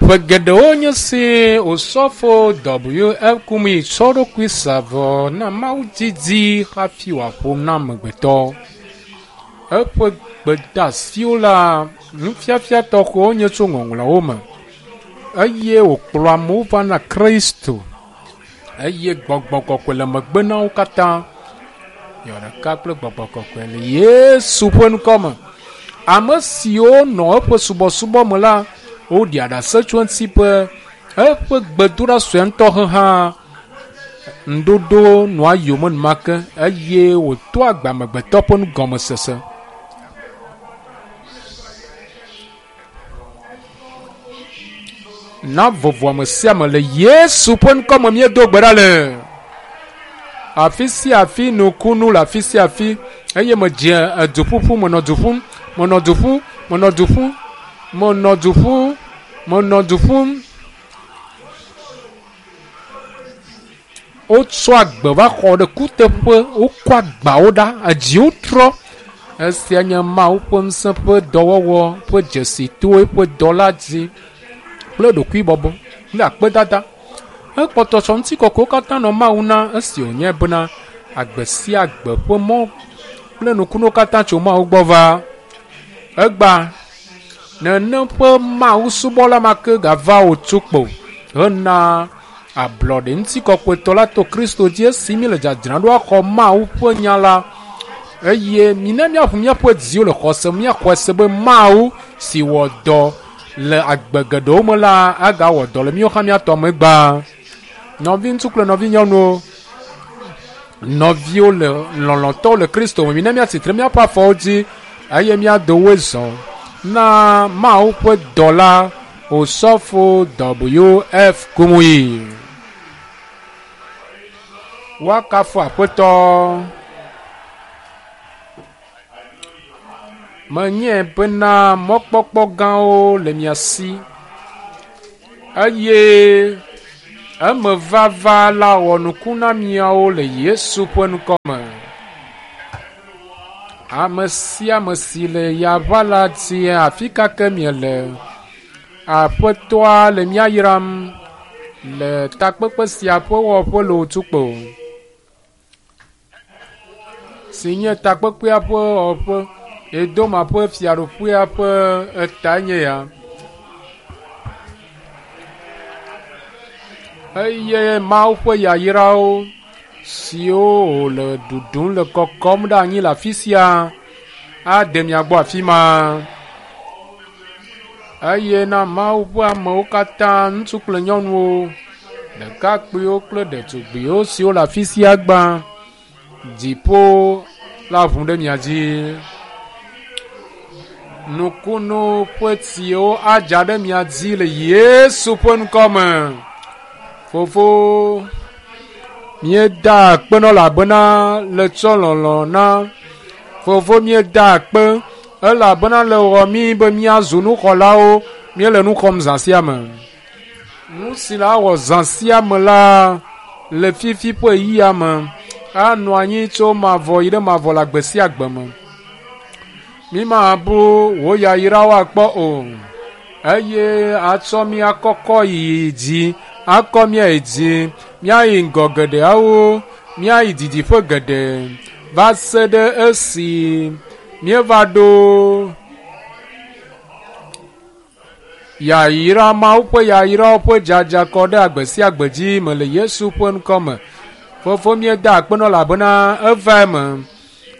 Ƒe geɖewo nye si Osɔfo W.F. Kumuyi tsɔ eɖokui sa vɔ na Mawu didi hafi wòaƒo nu na amegbetɔ. Eƒe gbedeasiwo la, nufiafia tɔxɛwo nye tso Ŋɔŋlɔawo me eye wòkplɔ amewo va na Kristo eye gbɔgbɔ kɔkɔe le megbe na wo katã. Yɔ ɖeka kple gbɔgbɔ kɔkɔe le Yesu ƒe ŋkɔ me. Ame siwo nɔ eƒe subɔsubɔ me la, woɖia ɖase tso eŋuti be eƒe gbedoɖa sue ŋutɔ he hã ŋuɖoɖo nɔa yome enumake eye wòtoa agbe amegbetɔ ƒe nugɔmesese. Na vovo ame sia ame le Yesu ƒe ŋkɔ me míedo gbe ɖa le. Afi sia afi nukunu le afi sia afi eye medze eduƒuƒu menɔ du ƒum menɔ du ƒum menɔ du ƒum menɔ du ƒum menɔ du ƒum. Wotsɔ agbe va xɔ ɖe kuteƒe, wokɔ agbawo ɖa, edziwo trɔ. Esia nye Mawu ƒe ŋusẽ ƒe dɔwɔwɔ ƒe dzesi to eƒe dɔla dzi kple ɖokuibɔbɔ kple akpedada. Ekpɔtɔ tsɔ ŋutikɔkɔewo katã nɔ Mawu na esi wònye bena agbe sia agbe ƒe mɔ kple nukunuwo katã tso Mawu gbɔ va. Egbea nenem ƒe Mawu subɔla ma ke gava wòtu kpo hena ablɔɖe ŋutikɔkɔetɔ la to Kristo dzi esi míele dzadzram ɖo axɔ Mawu ƒe nya la. Eye mina míaʋu míaƒe dziwo le xɔse me, míaxɔe se be Mawu si wɔ dɔ le agbe geɖewo me la agawɔ dɔ le míawo hã míatɔ me gbã. Nɔviŋutsu kple nɔvinyɔnuwo, nɔviwo le lɔlɔ̃tɔwo le Kristo me, mina míatsi tre míaƒe afɔwo dzi eye míado woe zɔ na Mawu ƒe dɔla Osɔfo W.F. Kumuyi. Woakafu Aƒetɔ. Menyae bena mɔkpɔkpɔ gãwo le mia si eye emevava la wɔ nuku na miawo le Yesu ƒe ŋkɔ me. Ame sia ame si le yaʋa la dzi afi ka ke miele, Aƒetɔa le mía yram le takpekpe sia ƒe wɔƒe le Otukpo, si nye takpekpea ƒe wɔƒe. Edoma ƒe fiaɖuƒea ƒe etae nye ya. Eye Mawu ƒe yayrawo siwo wòle ɖuɖum le kɔkɔm ɖe anyi le afi sia ade mia gbɔ afi ma. Eye na Mawu ƒe amewo katã, ŋutsu kple nyɔnuwo, ɖekakpuiwo kple ɖetugbiwo siwo le afi sia gbã, dziƒo la ʋu ɖe mia dzi. Nukunu ƒe tsiwo adza ɖe mia dzi le Yesu ƒe ŋkɔ me. Fofo, míeda akpe nɔ elabena le tsɔ lɔlɔ̃ na. Fofo, míeda akpe elabena le wɔ mí be míazu nuxɔlawo. Míele nu xɔm zã sia me. Nu si la wɔ zã sia me la le fifi ƒe ɣeyiɣia me anɔ anyi tso mavɔ yi ɖe mavɔ le agbe sia agbe me. Mímabu wò yayrawo akpɔ o eye atsɔ mía kɔkɔ yi dzi, akɔ mía yi dzi, míayi ŋgɔ geɖeawo, míayi didiƒe geɖe va se ɖe esi míeva ɖo Yayra, Mawu ƒe yayrawo ƒe dzadza kɔ ɖe agbe sia agbe dzi me le Yesu ƒe ŋkɔ me. Fofo míeda akpe nɔ elabena eva eme.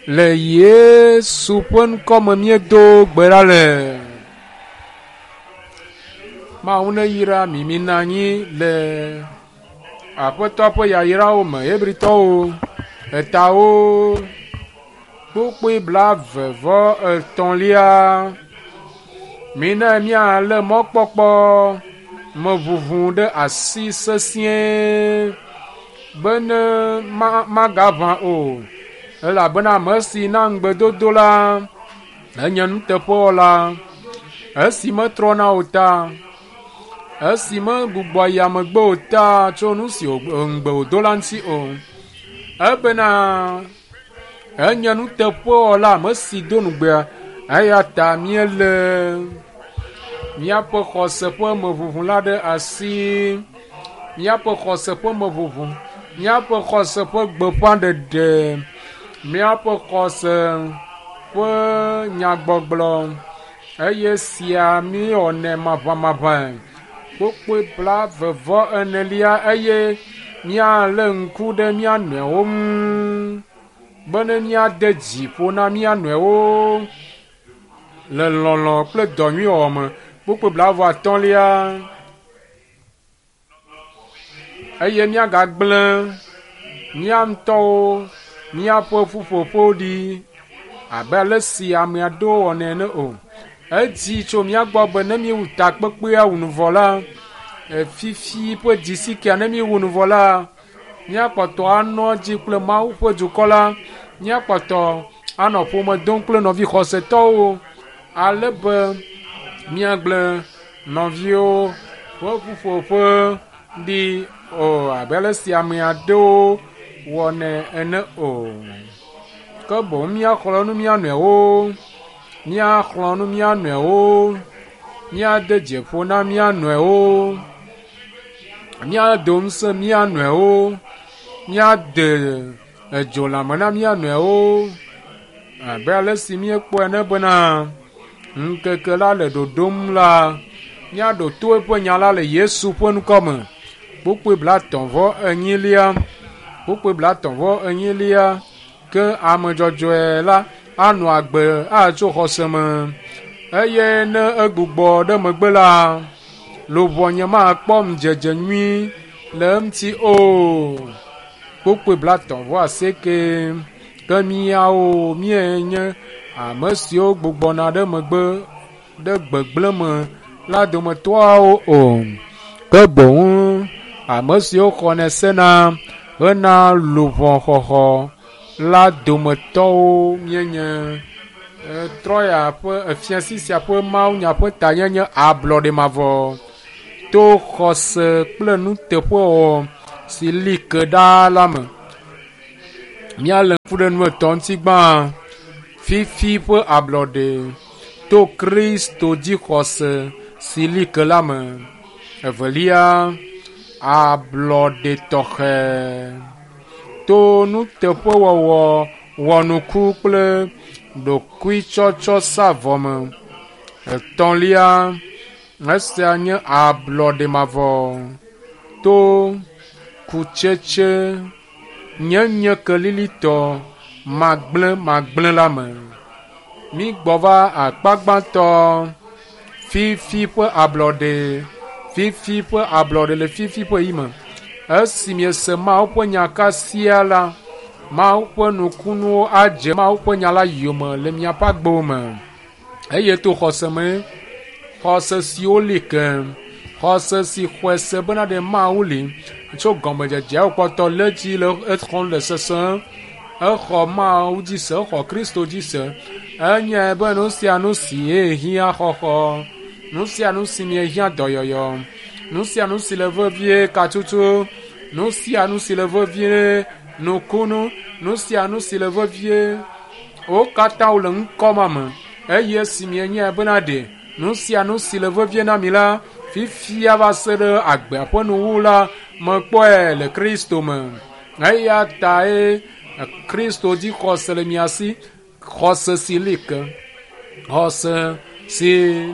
Le Yesu ƒe ŋkɔ me míedo gbe ɖa le. Mawu neyra mi mina anyi le Aƒetɔ ƒe yayrawo me. Hebritɔwo etawo kpukpui blaeve vɔ etɔ̃lia. Mina míalé mɔkpɔkpɔ me ʋuʋu ɖe asi sesĩe bene magaʋã o, elabena ame si na ŋugbedodo la enye nuteƒewɔla. Esi metrɔna o ta, esi megbugbɔa yia megbe o ta tso nu si ŋugbe wòdo la ŋuti o. Ebena Enye nuteƒewɔla ame si do nugbea eya ta míele Míaƒe xɔse ƒe meʋuʋu la ɖe asi. Míaƒe xɔse ƒe meʋuʋu, míaƒe xɔse ƒe gbeƒãɖeɖe, míaƒe xɔse ƒe nyagbɔgblɔ eye sia míwɔnɛ maʋamaʋãe. Kpukpui 44 eye míalé ŋku ɖe mía nɔewo ŋu bene míade dzi ƒo na mía nɔewo le lɔlɔ̃ kple dɔ nyui wɔwɔ me. Kpukpui 35 eye míagagblẽ mía ŋutɔwo míaƒe ƒuƒoƒo ɖi abe ale si ame aɖewo wɔnɛ ene o. Edzi tso mía gbɔ be ne míewu takpekpea wu nu vɔ la, fifi ƒe dzisikea ne míewu nu vɔ la, míakpɔtɔ anɔ edzi kple Mawu ƒe dukɔ la, míakpɔtɔ anɔ ƒome dom kple nɔvi xɔsetɔwo ale be míagblẽ nɔviwo ƒe ƒuƒoƒe ɖi o abe ale si ame aɖewo wɔnɛ ene o. Ke boŋ míaxlɔ̃ nu mía nɔewo, míaxlɔ̃ nu mía nɔewo, míade dzi ƒo na mía nɔewo, míado ŋusẽ mía nɔewo, míade edzo lãme na mía nɔewo abe ale si míekpɔe ene bena ŋkeke la le ɖoɖom la, míaɖo to eƒe nya la le Yesu ƒe ŋkɔ me. Kpukpui 34, kpukpui 34, ke ame dzɔdzɔe la anɔ agbe atso xɔse me eye ne egbugbɔ ɖe megbe la, luʋɔnye makpɔ ŋudzedze nyui le eŋuti o. Kpukpui 38, ke míawo míenye ame siwo gbugbɔna ɖe megbe ɖe gbegblẽ me la dometɔawo o. Ke boŋ ame siwo xɔnɛ sena hena luʋɔxɔxɔ la dometɔwo míenye. Trɔya ƒe fiasi sia ƒe mawunya ƒe tanyenye ablɔɖe mavɔ to xɔse kple nuteƒewɔwɔ si li ke ɖaa la me. Míalé ŋku ɖe nu etɔ̃ ŋuti gbã. Fifi ƒe ablɔɖe to Kristo dzi xɔse si li ke la me. Evelia, ablɔɖe tɔxɛ to nuteƒewɔwɔ wɔnuku kple ɖokuitsɔtsɔ sa vɔ me. Etɔ̃lia, esia nye ablɔɖe mavɔ to kutsetse nyenye kelilitɔ magblẽ magblẽ la me. Mígbɔ va akpa gbãtɔ, fifi ƒe ablɔɖe, fifi ƒe ablɔɖe le fifi ƒe yi me. Esi miese Mawu ƒe nya kasia la, Mawu ƒe nukunuwo adze Mawu ƒe nya la yome le miaƒe agbewo me. Eye to xɔse me, xɔse siwo li ke, xɔse si xɔe se bena ɖe Mawu li tso gɔmedzedzea wòkpɔtɔ lé dzi le exɔm le sesẽ. Exɔ Mawu dzi se, exɔ Kristo dzi se. Enyae be nu sia nu si hiã xɔxɔ, nu sia nu si miehiã dɔyɔyɔ, nu sia nu si le vevie katutu, nu sia nu si le vevie nukunu, nu sia nu si le vevie wo katã wole ŋkɔ ma me. Eye esi mienyae bena ɖe nu sia nu si le vevie na mi la, fifia va se ɖe agbea ƒe nuwuwu la, mekpɔe le Kristo me. Eya tae Kristo dzi xɔse le mia si, xɔse si li ke, xɔse si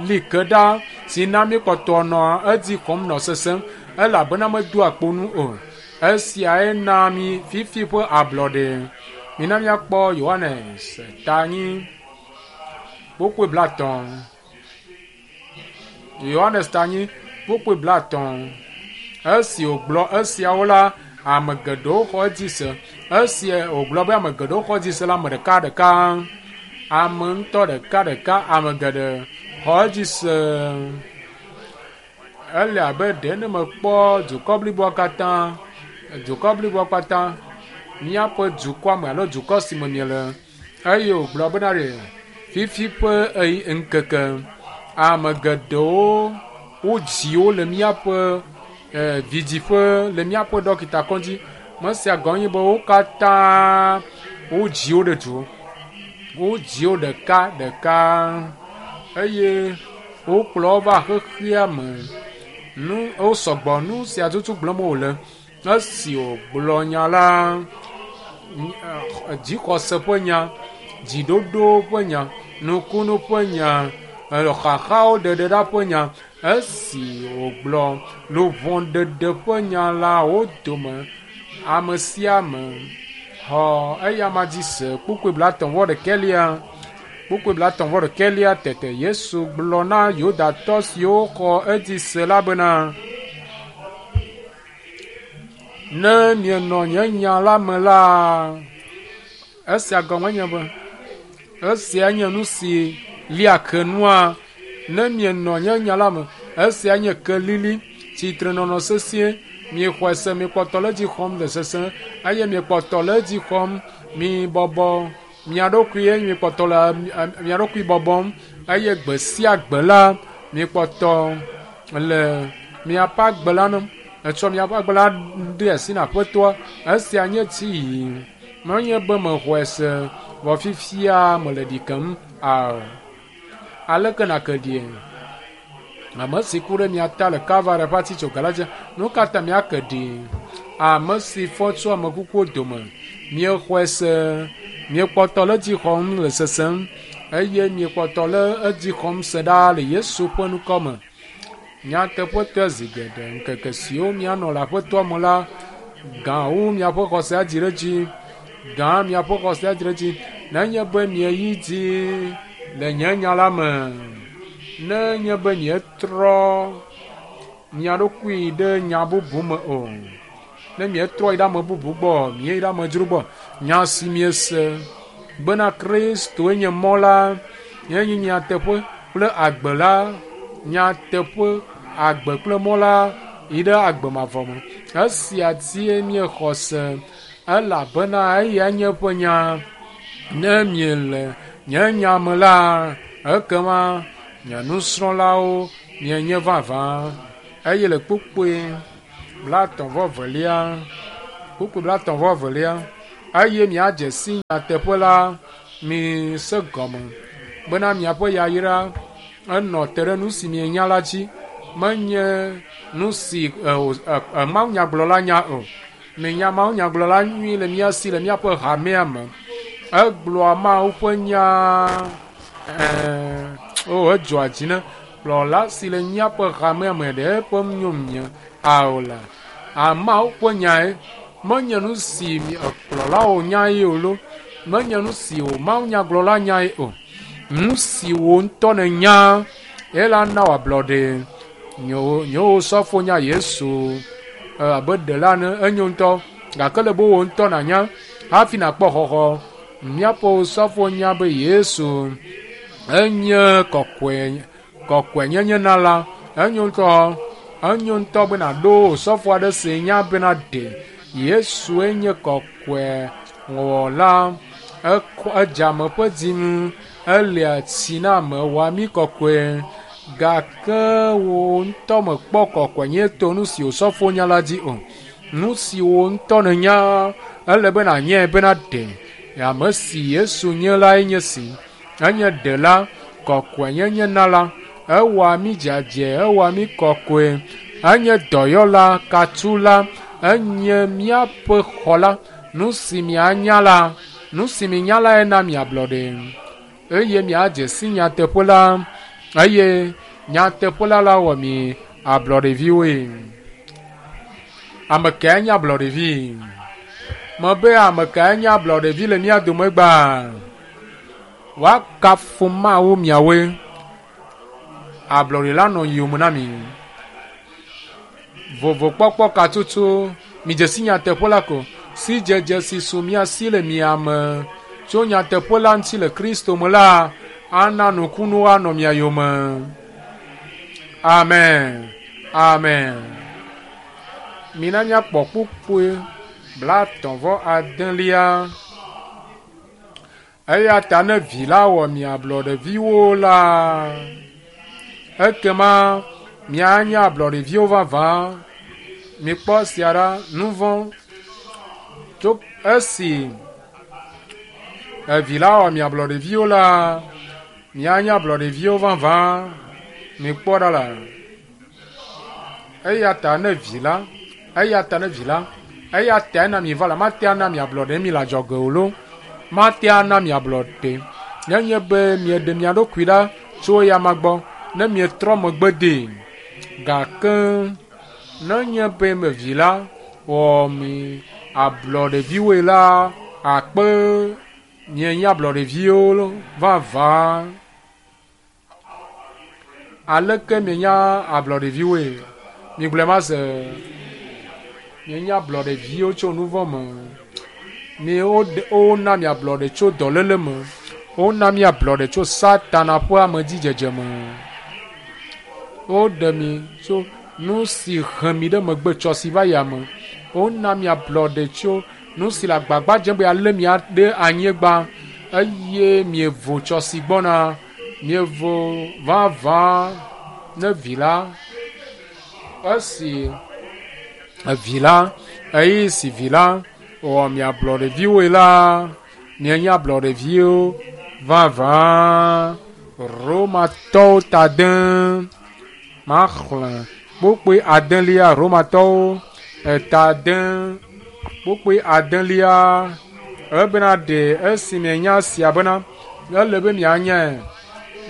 li ke ɖa, si na míekpɔtɔ nɔ edzi xɔm nɔ sesẽm elabena medoa kpo nu o. Esiae na mi fifi ƒe ablɔɖe. Mina míakpɔ Yohanes ta 4 kpukpui 50. Yohanes ta 4 kpukpui 50. Esi wògblɔ esiawo la, ame geɖewo xɔ edzi se. Esi wògblɔ be ame geɖewo xɔ edzi se la, ame ɖeka ɖeka, ame ŋutɔ ɖeka ɖeka, ame geɖe xɔ edzi se. Ele abe ɖe ne mekpɔ dukɔ bliboa katã, dukɔ bliboa katã, míaƒe dukɔa me alo dukɔ si me miele eye wògblɔ bena ɖe fifi ƒe ŋkeke ame geɖewo wodzi wo le míaƒe vidziƒe le míaƒe ɖɔkita kɔdzi. Mesia gɔme nye be wo katã wodzi wo ɖe du. Wodzi wo ɖeka ɖeka eye. Wokplɔ wo va xexea me. Nu wo sɔgbɔ nu sia tutu gblɔm wòle. Esi wògblɔ nya la, dzixɔse ƒe nya, dziɖoɖo ƒe nya, nukunu ƒe nya, xaxawo ɖeɖeɖa ƒe nya. Esi wògblɔ luʋɔɖeɖe ƒe nya la, wo dome ame sia ame xɔ eyama dzi se. Kpukpui 31. Kpukpui 31 tete Yesu gblɔ na Yudatɔ siwo xɔ edzi se la bena, ne mienɔ nye nya la me la, esia gɔme nye be, esia nye nu si lia ke nua, ne mienɔ nye nya la me, esia nye kelili, tsitrenɔnɔ sesĩe, miexɔe se, miekpɔtɔ le edzi xɔm le sesẽ, eye miekpɔtɔ le edzi xɔm, mibɔbɔ mia ɖokui eye miekpɔtɔ le mia ɖokui bɔbɔm eye gbe sia gbe la miekpɔtɔ le miaƒe agbe la nɔm. Etsɔ miaƒe agbe la de asi na Aƒetɔa. Esia nye tsiyi. Menye be mexɔe se vɔ fifia mele ɖi kem ao. Aleke nàke ɖie? Ame si ku ɖe mia ta le Kalvari ƒe atitsoga la dzi, nu ka ta miake ɖi? Ame si fɔ tso ame kukuwo dome. Miexɔe se, miekpɔtɔ le edzi xɔm le sesem eye miekpɔtɔ le edzi xɔm se ɖaa le Yesu ƒe ŋkɔ me. Nyateƒetɔe zi geɖe ŋkeke siwo mianɔ le Aƒetɔa me la, gã wu miaƒe xɔse adzi ɖe edzi. Gã miaƒe xɔse adzi ɖe edzi. Nenye be mieyi dzi le nye nya la me, nenye be mietrɔ mia ɖokui ɖe nya bubu me o, ne mietrɔ yi ɖe ame bubu gbɔ, mieyi ɖe amedzro gbɔ, nya si miese bena Kristoe nye mɔ la, nye nyateƒe kple agbe la, nyateƒe, agbe kple mɔ la yi ɖe agbe mavɔ me. Esia dzie míexɔ se elabena eya nye eƒe nya. Ne miele nye nya me la, ekema nye nusrɔ̃lawo mienye vavã. Eye le kpukpui 32, kpukpui 32, eye miadze si nyateƒe la, mise gɔme bena miaƒe yayra enɔ te ɖe nu si mienya la dzi. Menye nu si mawunyagblɔla nya o. Minya mawunyagblɔla nyui le mía si le míaƒe hamea me. Egblɔa Mawu ƒe nya o edzɔa dzi ne kplɔla si le míaƒe hamea me ɖe eƒe nyo mie ao la. Mawu ƒe nyae menye nu si kplɔlawo nyae o lo. Menye nu si o mawunyagblɔla nyae o. Nu si wò ŋutɔ nènya ela na wò ablɔɖe. Nyewo sɔfo nya Yesu abe ɖela ene enyo ŋutɔ gake le be wò ŋutɔ nànya hafi nàkpɔ xɔxɔ. Míaƒe sɔfo nya be Yesu enye kɔkɔe kɔkɔenyenye nala. Enyo ŋutɔ enyo ŋutɔ be nàɖo sɔfo aɖe si nya bena ɖe Yesue nye kɔkɔe wɔla. Ekɔ edze ame ƒe dzi ŋu elia tsi na ame wɔa mí kɔkɔe gake wò ŋutɔ mekpɔ kɔkɔenyenye to nu si wò nya la dzi o. Nu si wò ŋutɔ nènya ele be nànyae bena ɖe ame si Yesu nye lae nye si. Enye ɖela, kɔkɔenyenye nala, ewɔa mí dzadzɛ, ewɔa mí kɔkɔe, enye dɔyɔla, katula, enye míaƒe xɔla. Nu si mianya la, nu si minya lae na miablɔɖe eye miadze si nyateƒe la eye nyateƒe la la wɔ mi ablɔɖeviwoe. Ame kae nye ablɔɖevi? Mebe ame kae nye ablɔɖevi le mía dome gbã? Woakafu Mawu miawoe. Ablɔɖe la nɔ yowòme na mi. Vovokpɔkpɔ ka tutu midze si nyateƒe la ko. Sidzedze si su mía si le mia me tso nyateƒe la ŋuti le Kristo me la ana nukunuwo anɔ mia yome. Amen. Amen. Mina míakpɔ kpukpui 39. Eya ta ne vi la wɔ mi ablɔɖeviwo la, ekema mianye ablɔɖeviwo vavã. Mikpɔ esia ɖa, nu vɔ̃ tso esi evi la wɔ mi ablɔɖeviwo la, mianye ablɔɖeviwo vavã. Mikpɔ ɖa la. Eya ta ne vi la, eya ta ne vi la, eya ta na mi va la, mate ana mi ablɔɖe mi le adzɔge o lo. Mate ana mi ablɔɖe. Nenye be mieɖe mia ɖokui ɖa tso eyama gbɔ, ne mietrɔ megbe dee. Gake nenye be me vi la wɔ mi ablɔɖeviwoe la, akpe mienye ablɔɖeviwo vavã. Aleke mienye ablɔɖeviwoe? Migblɔe ma se. Mienye ablɔɖeviwo tso nu vɔ̃ me. Mi wona mi ablɔɖe tso dɔléle me. Wona mi ablɔɖe tso Satana ƒe amedzidzedze me. Woɖe mi tso nu si he mi ɖe megbe tsɔ si va yia me. Wona mi ablɔɖe tso nu si le agbagba dzem be alé mia ɖe anyigba eye mievo tsɔ si gbɔna. Mievo vavã ne vi la. Esi vi la, ɣeyiɣi si vi la wɔ mi ablɔɖeviwoe la, mienye ablɔɖeviwo vavã. Romatɔwo ta de maxlẽ kpukpui adelia. Romatɔwo eta de kpukpui adelia. Ebena ɖe esi mienya sia bena ele be mianyae.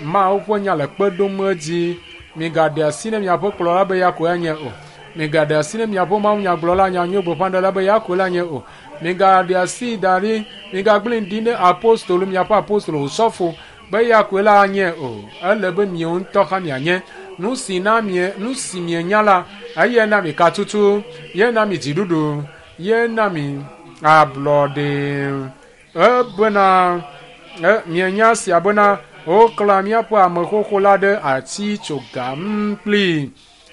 Mawu ƒe nya le kpe ɖom edzi. Migaɖe asi ne miaƒe kplɔla be ya koe anye o. Migaɖe asi ne miaƒe mawunyagblɔla nyanyui gbeƒãɖela be ya koe la nye o. Migaɖe asi da ɖi, migagblẽ ɖi ne apostolo miaƒe apostolo osɔfo be ya koe la anye o. Ele be miawo ŋutɔ hã mianye. Nu si na mie, nu si mienya la, eye na mi katutu, ye na mi dziɖuɖu, ye na mi ablɔɖe. Ebena mienya sia bena woklã míaƒe ame xoxo la ɖe ati tso ga kplii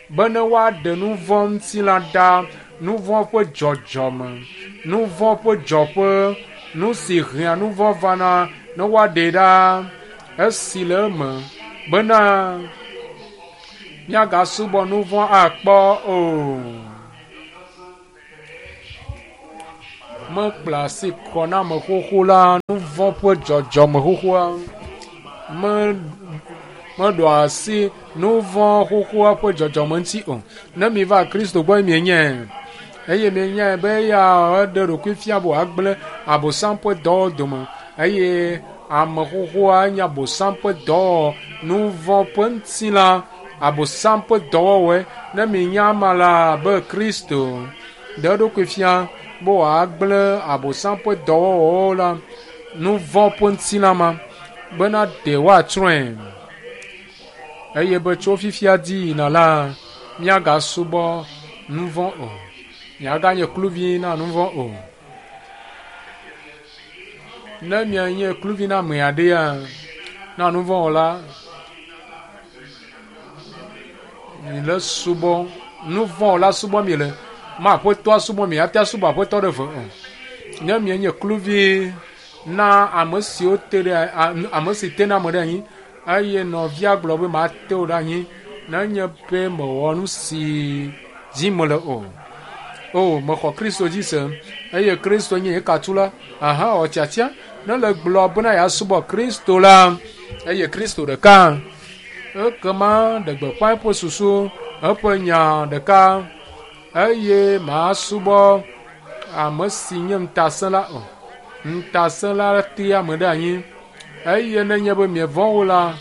bene woaɖe nu vɔ̃ ŋutilã ɖa, nu vɔ̃ ƒe dzɔdzɔme, nu vɔ̃ ƒe dzɔƒe, nu si hea nu vɔ̃ vana ne woaɖe ɖa esi le eme bena míagasubɔ nu vɔ̃ akpɔ o. Mekpla asi kɔ na ame xoxo la, nu vɔ̃ ƒe dzɔdzɔme xoxoa. Meɖo asi nu vɔ̃ xoxoa ƒe dzɔdzɔme ŋuti o. Ne mi va Kristo gbɔ mienyae eye mienyae be eya eɖe ɖokui fia be wòagblẽ Abosam ƒe dɔwɔwɔ dome eye ame xoxoa nye Abosam ƒe dɔwɔwɔ, nu vɔ̃ ƒe ŋutilã, Abosam ƒe dɔwɔwɔe. Ne mienya ama la be Kristo ɖe eɖokui fia be wòagblẽ Abosam ƒe dɔwɔwɔwo la, nu vɔ̃ ƒe ŋutilã ma bena ɖe woatsrɔ̃e eye be tso fifia dzi yina la míagasubɔ nu vɔ̃ o, míaganye kluvi na nu vɔ̃ o. Ne mianye kluvi na ame aɖea, na nu vɔ̃ wɔla, mi le subɔ nu vɔ̃ wɔla subɔ mi le, ma aƒetɔa subɔ mi ate asubɔ aƒetɔ ɖe ve o. Ne mienye kluvi na ame siwo te ɖe ame si tena ame ɖe anyi eye nɔvia gblɔ be mate wò ɖe anyi nenye be mewɔ nu si dzi mele o. O, mexɔ Kristo dzi se eye Kristo nye ye katula. Aha, wɔ tiatia. Ne le gblɔ bena yeasubɔ Kristo la eye Kristo ɖeka, ekema ɖe gbeƒã eƒe susu, eƒe nya ɖeka eye masubɔ ame si nye ŋutasẽla o. Ŋutasẽla tea ame ɖe anyi eye nenye be mievɔ̃ wo la,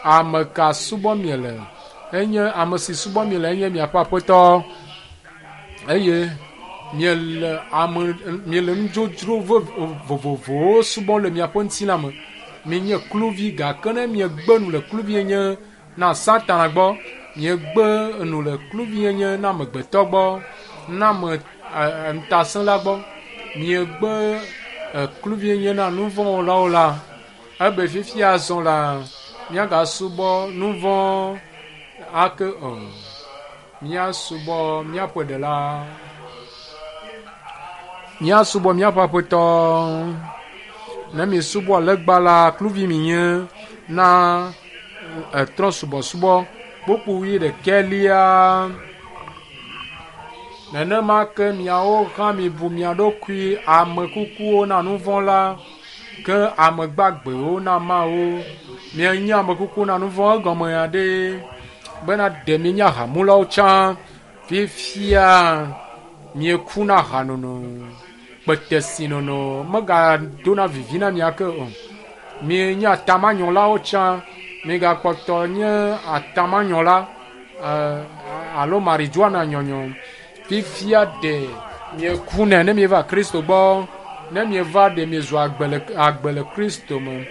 ame ka subɔ miele? Enye ame si subɔ miele enye miaƒe aƒetɔ eye miele ame miele nudzodzro vovovowo subɔm le miaƒe ŋutilã me. Mienye kluvi gake ne miegbe nu le kluvinyenye na Satana gbɔ, miegbe nu le kluvinyenye na amegbetɔ gbɔ, na ame ŋutasẽla gbɔ, miegbe kluvinyenye na nu vɔ̃ wɔlawo la, ebe fifia azɔ la, míagasubɔ nu vɔ̃ ake o. Míasubɔ míaƒe ɖela. Míasubɔ míaƒe aƒetɔ. Ne miesubɔ legba la, kluvi mienye na trɔ̃subɔsubɔ kpukpui ɖekɛlia. Nenema ke miawo hã mibu mia ɖokui ame kukuwo na nu vɔ̃ la, ke ame gbagbewo na Mawu. Mienye ame kuku na nu vɔ̃ egɔme ya ɖe. Bena ɖe mienye ahamulawo tsã. Fifia mieku na ahanono, kpetesinono megadona vivi na mia ke o. Mienye atamanyɔlawo tsã. Migakpɔtɔ nye atamanyɔla alo marijuana nyɔnyɔ. Fifia ɖe miekunɛ ne mieva Kristo gbɔ. Ne mieva ɖe miezu agbe le agbe le Kristo me.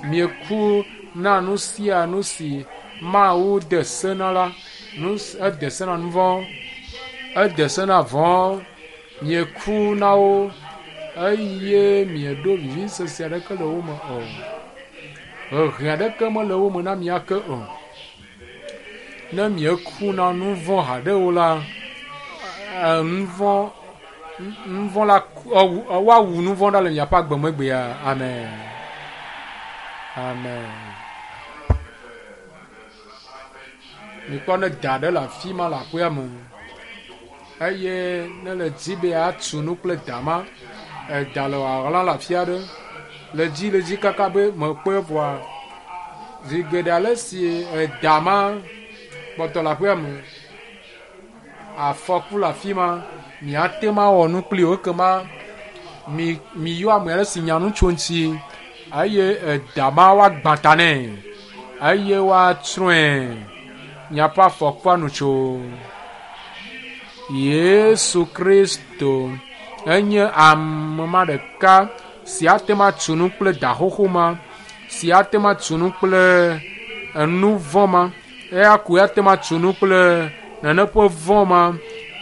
Mieku na nu sia nu si Mawu de se na la. Nu ede se na nu vɔ̃, ede se na vɔ̃. Mieku na wo eye mieɖo vivisese aɖeke le wo me o. Ʋeʋẽ aɖeke mele wo me na mia ke o. Ne mieku na nu vɔ̃ haɖe o la, nu vɔ̃ nu vɔ̃ la woawu nu vɔ̃ ɖa le miaƒe agbe me gbea. Amen. Amen. Mikpɔ ne da ɖe le afi ma le aƒea me eye ne le dzi be yeatu nu kple da ma, eda le wòaɣla le afi aɖe le dzi le dzi kaka be mekpɔe vɔa, zi geɖe ale si eda ma kpɔtɔ le aƒea me, afɔku le afi ma, miate ŋu awɔ nu kpli o ekema mi miyɔ ame aɖe si nya nu tso eŋuti eye eda ma woagbã ta nɛ eye woatsrɔ̃e. Miaƒe afɔkua nu tso. Yesu Kristo enye ame ma ɖeka si ate ŋu atu nu kple da xoxo ma, si ate ŋu atu nu kple enu vɔ̃ ma. Eya koe ate ŋu atu nu kple nane ƒe vɔ̃ ma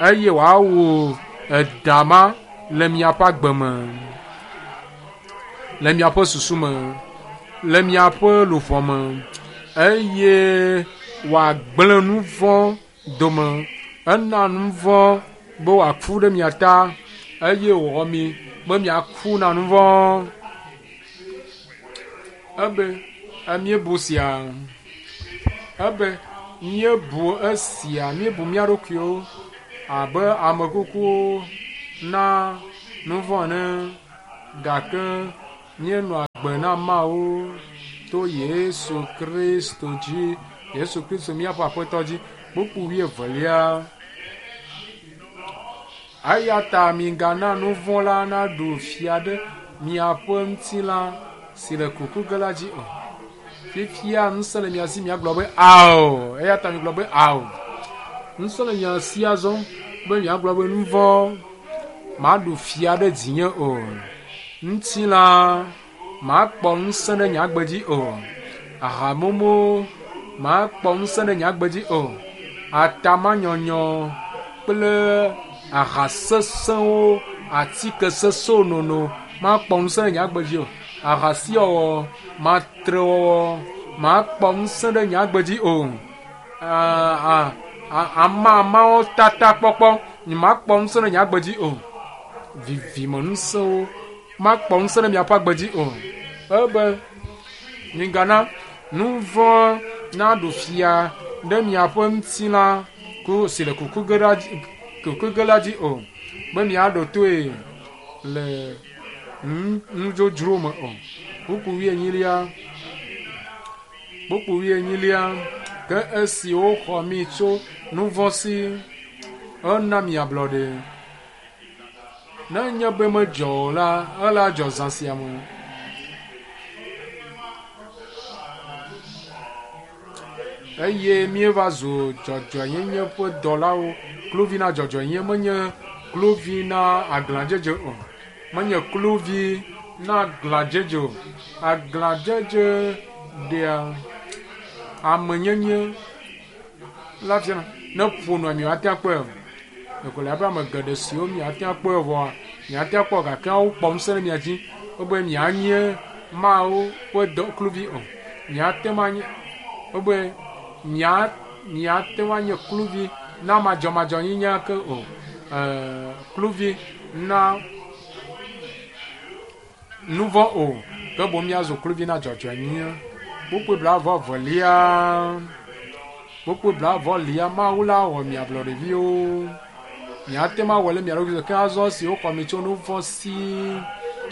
eye wòawu eda ma le miaƒe agbe me, le miaƒe susu me, le miaƒe luʋɔ me eye wòagblẽ nu vɔ̃ dome. Ena nu vɔ̃ be wòaku ɖe mia ta eye wòwɔ mi be miaku na nu vɔ̃. Ebe míebu sia. Ebe míebu esia, míebu mía ɖokuiwo abe ame kukuwo na nu vɔ̃ ene gake míenɔ agbe na Mawu to Yesu Kristo dzi, Yesu Kristo míaƒe Aƒetɔ dzi. Kpukpui wuievelia. Eya ta migana nu vɔ̃ la naɖu fia ɖe miaƒe ŋutilã si le kuku ge la dzi o. Fifia ŋusẽ le mia si miagblɔ be ao. Eya ta migblɔ be ao. Ŋusẽ le mia si azɔ be miagblɔ be nu vɔ̃ maɖu fia ɖe dzinye o. Ŋutilã makpɔ ŋusẽ ɖe nye agbe dzi o. Ahamumu makpɔ ŋusẽ ɖe nye agbe dzi o. Atamanyɔnyɔ kple aha sesẽwo, atike sesẽwo nono makpɔ ŋusẽ ɖe nye agbe dzi o. Ahasiwɔwɔ, matrewɔwɔ makpɔ ŋusẽ ɖe nye agbe dzi o. Amamawo tata kpɔkpɔ nyemakpɔ ŋusẽ ɖe nye agbe dzi o. Vivimeŋusẽwo makpɔ ŋusẽ ɖe miaƒe agbe dzi o. Ebe migana nu vɔ̃ naɖu fia ɖe miaƒe ŋutilã ku si le kuku ge la dzi, kuku ge la dzi o, be miaɖo toe le nudzodzro me o. Kpukpui wuienyilia, kpukpui wuienyilia, ke esi woxɔ mi tso nu vɔ̃ si, ena mi ablɔɖe. Ne enye be medzɔ o la, ela dzɔ zã sia me. Eye míeva zu dzɔdzɔenyenye ƒe dɔlawo. Kluvi na dzɔdzɔenyenye menye kluvi na aglãdzedze o. Menye kluvi na aglãdzedze o. Aglãdzedze ɖea amenyenye la fiana. Ne ƒo nua miate ŋu akpɔe o. Ɖeko le abe ame geɖe siwo miate ŋu akpɔe o vɔa, miate ŋu akpɔ gake wokpɔ ŋusẽ ɖe mia dzi wobe mianye Mawu ƒe dɔ kluvi o. Miate ŋu anye wobe mia miate ŋu anye kluvi na madzɔmadzɔnyenye ke o. E, kluvi na nu vɔ̃ o, ke boŋ míazu kluvi na dzɔdzɔenyenye. Kpukpui blaeve evelia, kpukpui blaeve lia, Mawu la wɔ mi ablɔɖeviwo. Miate ŋu awɔ le mia ɖokui ke azɔ esi woxɔ mi tso nu vɔ̃ si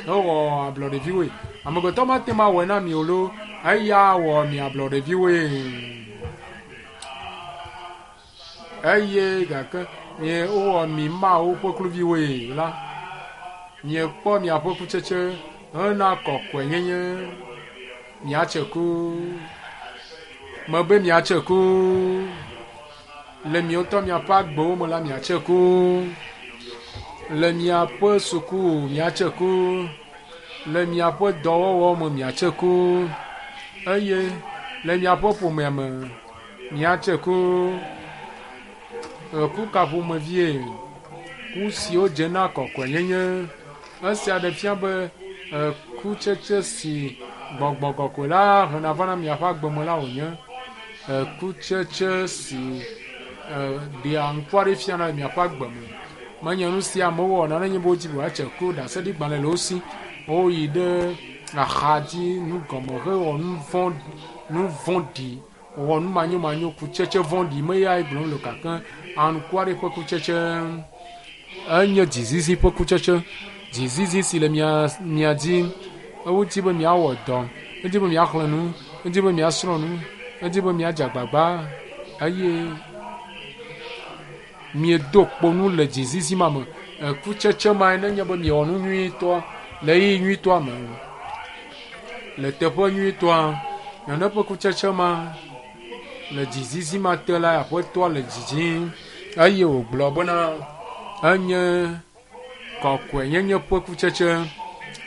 hewɔ ablɔɖeviwoe. Amegbetɔ mate ŋu awɔe na mi o loo, eya wɔ mi ablɔɖeviwoe. Eye gake mie wowɔ mi Mawu ƒe kluviwoe la, miekpɔ miaƒe kutsetse hena kɔkɔenyenye. Miatse ku. Mebe miatse ku. Le miawo ŋutɔ miaƒe agbewo me la, miatse ku. Le miaƒe suku miatse ku. Le miaƒe dɔwɔwɔ me miatse ku. Eye le miaƒe ƒomea me miatse ku. Eku ka ƒomevie? Ku siwo dze na kɔkɔenyenye. Esia ɖe fia be ekutsetse si gbɔgbɔ kɔkɔe la hena vana miaƒe agbe me la wònye. Ekutsetse si ɖea ŋku aɖe fiana le miaƒe agbe me. Menye nu si amewo wɔna nenye be wodi be yewoatse ku ɖaseɖigbalẽ le wo si. Woyi ɖe axadzi nugɔme hewɔ nu vɔ̃ nu vɔ̃ɖi wɔ nu manyomanyo kutsetse vɔ̃ɖi me yae gblɔm le o gake anukware ƒe kutsetse enye dzizizi ƒe kutsetse. Dzizizi si le mia mia dzi. Wodi be miawɔ dɔ, wodi be miaxlẽ nu, wodi be miasrɔ̃ nu, wodi be miadze agbagba eye miedo kpo nu le dzizizi ma me. Ekutsetse mae nenye be miewɔ nu nyuitɔ le ɣeyiɣi nyuitɔa me le teƒe nyuitɔa. Nane ƒe kutsetse ma le dzizizi ma te la, aƒetɔa le dzidzim eye wògblɔ bena enye kɔkɔenyenye ƒe kutsetse,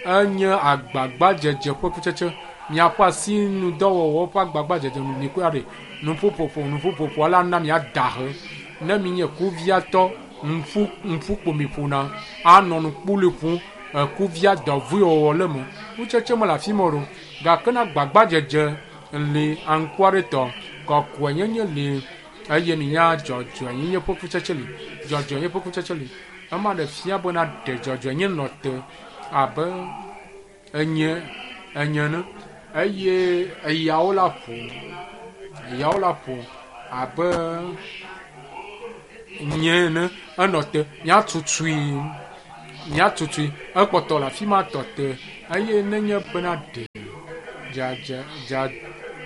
enye agbagbadzedze ƒe kutsetse. Miaƒe asinudɔwɔwɔ ƒe agbagbadzedze nu mikpɔe ɖe nuƒoƒoƒo nuƒoƒoƒo ala na miada he. Ne minye kuviatɔ ŋfu ŋfukpo miƒona anɔ nukpuli ƒom ekuvia dɔvɔe wɔwɔ le eme. Kutsetse mele afi ma o ɖo gake ne agbagbadzedze li aŋkuaɖetɔ kɔkɔenyenye li eye minya dzɔdzɔenyenye ƒe kutsetse li. Dzɔdzɔenyenye ƒe kutsetse li. Ema ɖe fia bena ɖe dzɔdzɔenyenye nɔ te abe enye enye ene eye eyawo la ƒo eyawo la ƒo abe nye ene enɔ te. Míatutui míatutui ekpɔtɔ le afi ma tɔ te eye nenye bena ɖe dzadza dza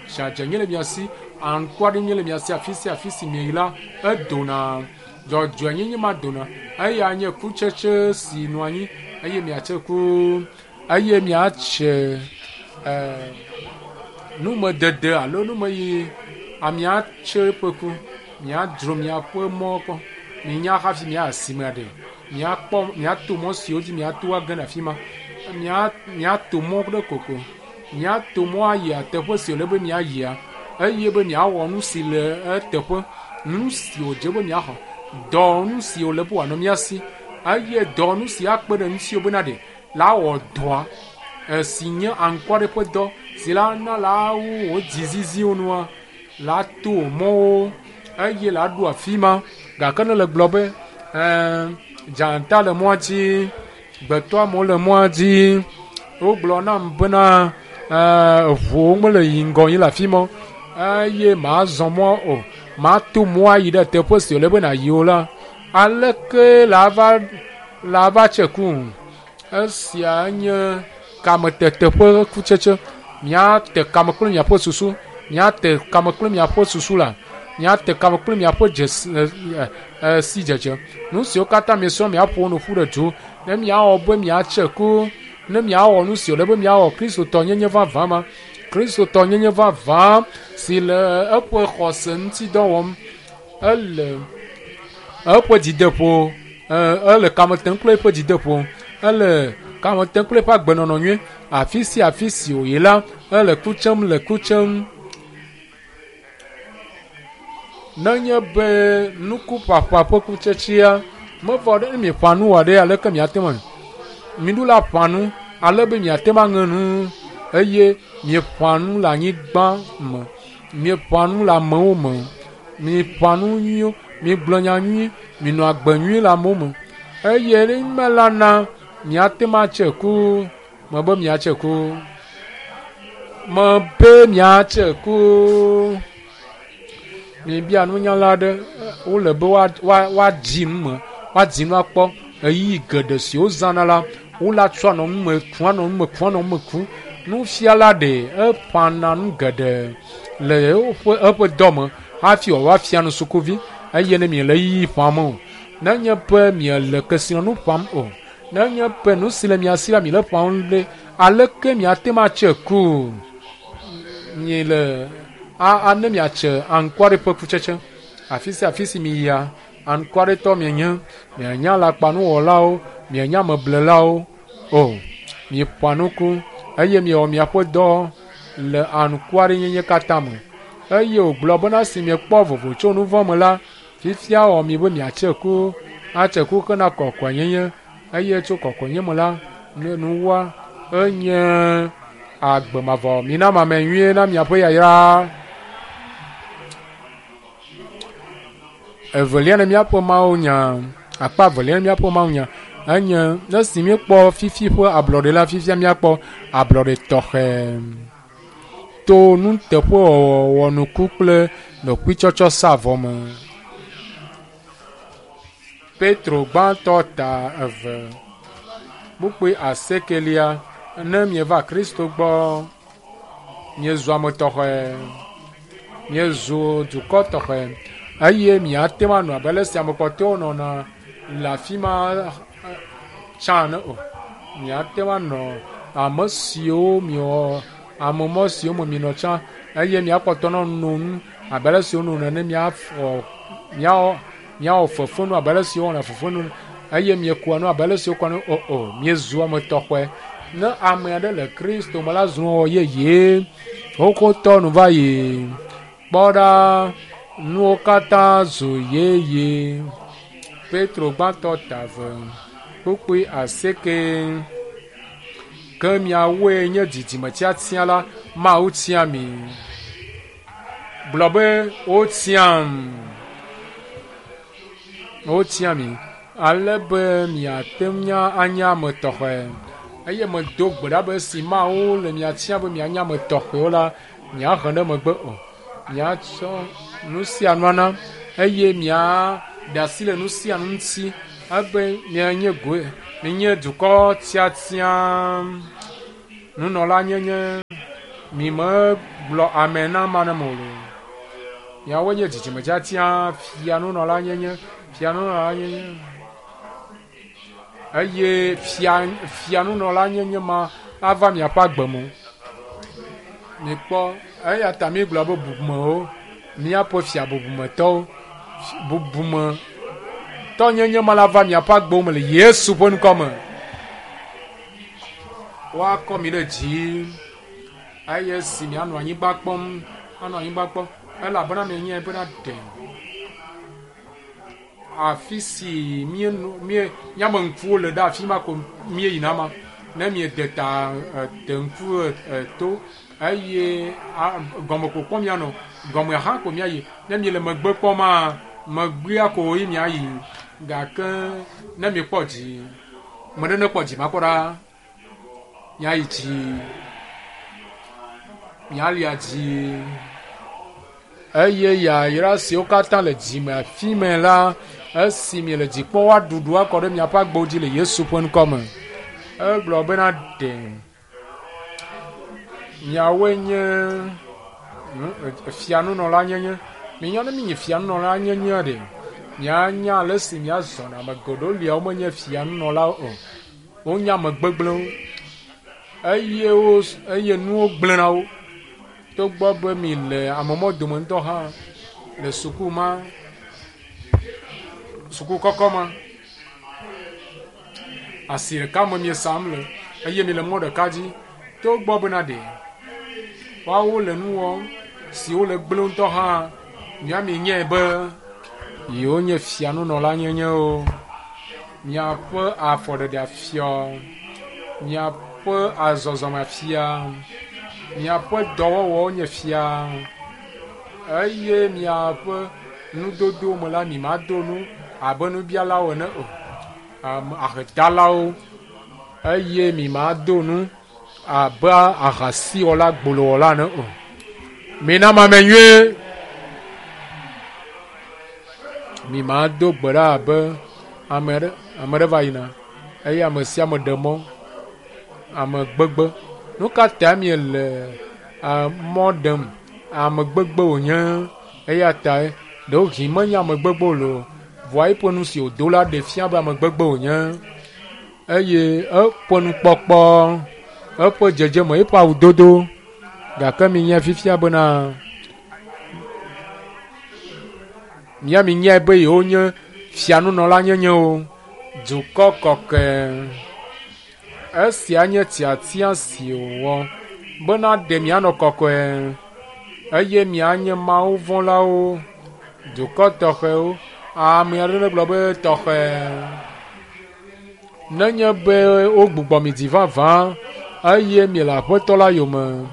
dzadzɛnyenye le mia si aŋkuaɖi le mia si afi sia afi si mieyi la edona dzɔdzɔenyenye ma dona eya nye kutsetse si nɔ anyi eye miatse ku eye miatse numedede alo numeyi amiatse ƒe ku miadzro miaƒe mɔ kpɔ minya hafi mia asime ɖe miakpɔ miato mɔ siwo dzi miato age ɖe afi ma mia miato mɔ ɖe koko miato mɔ ayi teƒe si wòle be miayia eye be miawɔ nu si le eteƒe nu si wòdze be miaxɔ dɔ nu si wòle be wòanɔ mia si eye dɔ nu si akpe ɖe ŋutiwò bena ɖe la wɔ dɔa esi nye aŋkuaɖe ƒe dɔ si la na la wu wò dziziziwo nua la to mɔwo eye la ɖo afi ma gake ne le gblɔ be ɛɛ dzata le mɔa dzi gbetɔ amewo le mɔa dzi wogblɔ nam bena ɛɛ ʋuwo mele yi ŋgɔ yi le afi ma eye mazɔ mɔ o mato mɔa yi ɖe teƒe si wòle be nàyi o la aleke la va la va tse ku esia nye kametete ƒe kutsetse miate kame kple miaƒe susu miate kame kple miaƒe susu la miate kame kple miaƒe dzesi sidzedze nu siwo katã miesrɔ̃ miaƒo nu ƒu ɖe du ne miawɔ be miatse ku ne miawɔ nu si wòle be miawɔ kristotɔnyenye vavã ma kristotɔnyenye vavã si le eƒe xɔse ŋuti dɔ wɔm ele eƒe dzideƒo ele kame tem kple eƒe dzideƒo ele kame tem kple eƒe agbenɔnɔ nyui afi sia afi si wòyi la ele ku tsem le ku tsem nenye be nukuƒaƒã ƒe kutsetsea mevɔ ɖe ne mieƒã nu wɔ ɖe aleke miate ŋu miɖo la ƒã nu ale be miate ŋu aŋe nu eye mieƒã nu le anyigba me mieƒã nu le amewo me mieƒã nu nyuiwo miegblɔ nya nyui minɔ agbe nyui le amewo me eye ne me la na miate ŋu atse ku mebe miatse ku mebe miatse ku mibia nunyala aɖe wole be woadzi nu me woadzi nu akpɔ ɣeyiɣi geɖe si wozãna la wola tsɔ anɔ nu me kum anɔ nu me kum anɔ nu me kum nufiala ɖe eƒãna nu geɖe le eƒe eƒe dɔ me hafi wòava fia nu sukuvi. eye ne miele ɣeyiɣi ƒãm o, nenye be miele kesinɔnu ƒãm o, nenye be nu si le mia si la miele ƒãm ɖe, aleke miate ŋu atse ku? Miele a ne miatse anukware ƒe kutsetse. Afi sia afi si miyia, anukwaretɔ mienye, mienye alakpanuwɔlawo, mienye ameblelawo o. Mieƒoa nuku eye miewɔ miaƒe dɔ le anukwarenyenye katã me. Eye wògblɔ bena esi miekpɔ vovo tso nu vɔ̃ me la, fifia wɔ mi be miatse ku, atse ku hena kɔkɔenyenye eye tso kɔkɔenyenye me la, nuwa enye agbe mavɔ. Mina mame nyuie na miaƒe yayra. Evelia ne míaƒe Mawu nya, akpa evelia ne míaƒe Mawu nya enye ne si míekpɔ fifi ƒe ablɔɖe la, fifia míakpɔ ablɔɖe tɔxɛ to nuteƒewɔwɔ nuku kple ɖokuitsɔtsɔ sa vɔ me. Petro gbãtɔ ta 2 kpukpui asiekelia, ne mieva Kristo gbɔ, miezu ame tɔxɛ, miezu dukɔ tɔxɛ eye miate ŋu anɔ abe ale si ame kpɔtɔewo nɔna le afi ma tsã ene o. Miate ŋu anɔ ame siwo miewɔ ame mɔ siwo me mienɔ tsã eye miakpɔtɔ nɔ no nu abe ale si wonɔ nene, miafɔ miawɔ fefenu abe ale si wowɔna fefenu eye miekua nu abe ale si wokua nu o o. Miezu ame tɔxɛ. Ne ame aɖe le Kristo me la, zu nuwɔwɔ yeye. Xoxotɔ nu va yi. Kpɔ ɖa, nuwo katã zu yeye. Petro gbãtɔ ta 2 kpukpui 8. Ke miawoe nye dzidzime tiatia la, Mawu tia mi. Gblɔ be wotiam. Wotia mi ale be miate ŋu anye ame tɔxɛ. Eye medo gbe ɖa be esi Mawu le mia tia be mianye ame tɔxɛwo la, miahe ɖe megbe o. Miatsɔ nu sia nu ana eye miaɖe asi le nu sia nu ŋuti ebe mianye goe, mianye dukɔ tiatia, nunɔla nyenye. Mi megblɔ ame na ame aɖe me o. Miawoe nye dzidzime tiatia, fia nunɔla nyenye, fia nunɔla nyenye. Eye fia nunɔla nyenye ma ava miaƒe agbe me. Mikpɔ, eya ta migblɔ be bubumewo, míaƒe fia bubumetɔwo, bubumetɔ nyenye ma la va miaƒe agbewo me le Yesu ƒe ŋkɔ me. Woakɔ mi ɖe dzi eye si mianɔ anyigba kpɔm, anɔ anyigba kpɔm elabena mienyae bena ɖe afi si miame ŋkuwo le ɖe afi ma ko mieyina ma. Ne miede ta de ŋku to eye gɔme ko kpɔm mianɔ, gɔme hã ko miayi. Ne miele megbe kpɔm megbea ko yi miayi. Gake ne miekpɔ dzi, me ɖe nekpɔ dzi makpɔ ɖa, miayi dzi, mialia dzi. Eye yayra siwo katã le dzime afi me la, esi miele dzi kpɔm woaɖuɖu akɔ ɖe miaƒe agbewo dzi le Yesu ƒe ŋkɔ me. Egblɔ bena ɖe miawoe nye fianunɔla nyenye. Minya ne minye fianunɔla nyenye ɖe, mianya ale si miazɔna. Ame geɖewo lia womenye fianunɔlawo o. Wonye ame gbegblẽwo eye nuwo gblẽna wo. Togbɔ be mi le amemɔ dome ŋutɔ hã le suku ma, suku kɔkɔ ma, asi ɖeka me miesam le eye mi le mɔ ɖeka dzi. Togbɔ bena ɖe woawo le nu wɔm siwo le gblẽ ŋutɔ hã, mia mienyae be yewo nye fianunɔla nyenye o. Miaƒe afɔɖeɖe afia, miaƒe azɔzɔme afia, miaƒe dɔwɔwɔwo nye fia eye miaƒe nudodo me la, mi mado nu abe nubialawo ene o, ahedalawo eye mi mado nu abe ahasiwɔla gbolowɔla ene o. Mina mame nyuie. Mi mado gbe ɖa abe ame ɖe va yina eye ame sia ame ɖe mɔ, ame gbegbe. Nu ka ta miele mɔ ɖem? Ame gbegbe wònye eya tae Ɖewohĩ menye ame gbegbe o loo, vɔa eƒe nu si wòdo la ɖe fia be ame gbegbe wònye. Eye eƒe nukpɔkpɔ, eƒe dzedzeme, eƒe awudodo. Gake minyae fifia bena mía minyae be yewonye fianunɔla nyenye o. Dukɔ kɔkɔe. Esia nye tiatia si wòwɔ bena ɖe mianɔ kɔkɔe eye mianye Mawu vɔ̃lawo, dukɔ tɔxɛwo. Ame aɖe negblɔ be tɔxɛ. Nenye be wogbugbɔ mi dzi vavã eye miele Aƒetɔ la yome,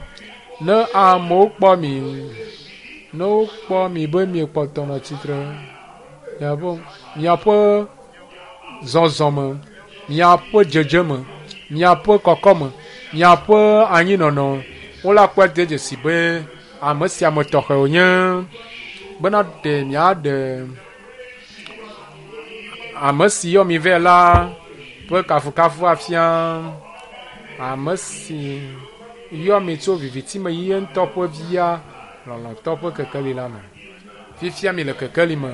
ne amewo kpɔ mi, ne wokpɔ mi be miekpɔtɔ nɔ tsitre, miaƒe miaƒe zɔzɔme, miaƒe dzedzeme, miaƒe kɔkɔme, miaƒe anyinɔnɔ, wole akpɔe de dzesi be ame sia ame tɔxɛ wònye bena ɖe miaɖe ame si yɔ mi vɛ la ƒe kafukafu afia. Ame si yɔ mi tso viviti me yi ye ŋutɔ ƒe via lɔlɔ̃tɔ ƒe kekeli la me. Fifia mi le kekeli me.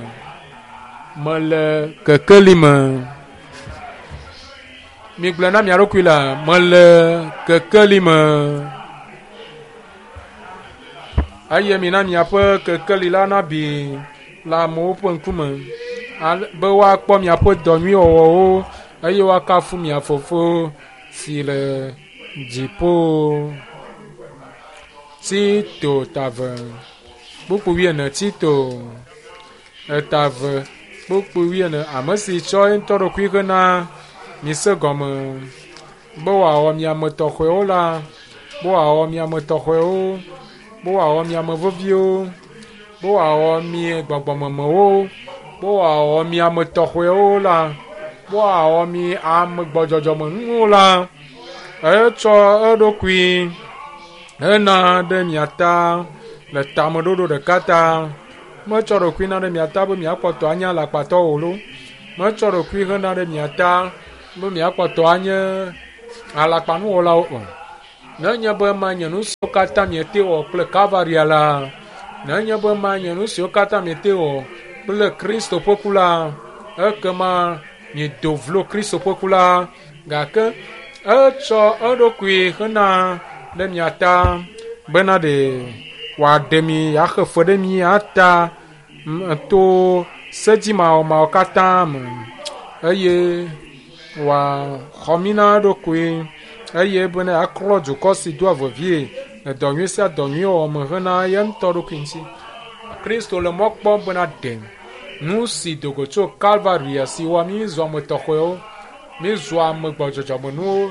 Mele kekeli me. Migblɔe na mia ɖokui la, mele kekeli me. Eye mina miaƒe kekeli la nabi le amewo ƒe ŋkume ale be woakpɔ miaƒe dɔ nyui wɔwɔwo eye woakafu mia Fofo si le dziƒo. Tito tave kpukpu wuiene Tito etave kpukpu wuiene ame si tsɔ ye ŋutɔ ɖokui hena mise gɔme be wòawɔ mi ame tɔxɛwo la, be wòawɔ mi ame tɔxɛwo, be wòawɔ mi ame veviwo, be wòawɔ mi gbɔgbɔmemewo, be wòawɔ mi ame tɔxɛwo la, be wòawɔ mi ame gbɔdzɔdzɔmenuwo la. Etsɔ eɖokui hena ɖe mia ta le tameɖoɖo ɖeka ta. Metsɔ ɖokui na ɖe mia ta be miakpɔtɔ anye alakpatɔwo o loo. Metsɔ ɖokui hena ɖe mia ta be miakpɔtɔ anye alakpanuwɔlawo o. Nenye be manye nu siwo katã miete wɔ kple Kalvaria la, nenye be manye nu siwo katã miete wɔ kple Kristo ƒe ku la, ekema miedo vlo Kristo ƒe ku la. Gake etsɔ eɖokui hena ɖe mia ta bena ɖe wòaɖe mi axe fe ɖe mia ta to sedzimawɔmawɔ katã me eye wòaxɔ mí na eɖokui eye bena yeaklɔ dukɔ si doa vevie le dɔ nyui sia dɔ nyui wɔwɔ me hena ye ŋutɔ ɖokui ŋuti. Kristo le mɔ kpɔm bena ɖe nu si do go tso Kalvaria si wɔ mí zu ame tɔxɛwo, mí zu ame gbɔdzɔdzɔmenuwo,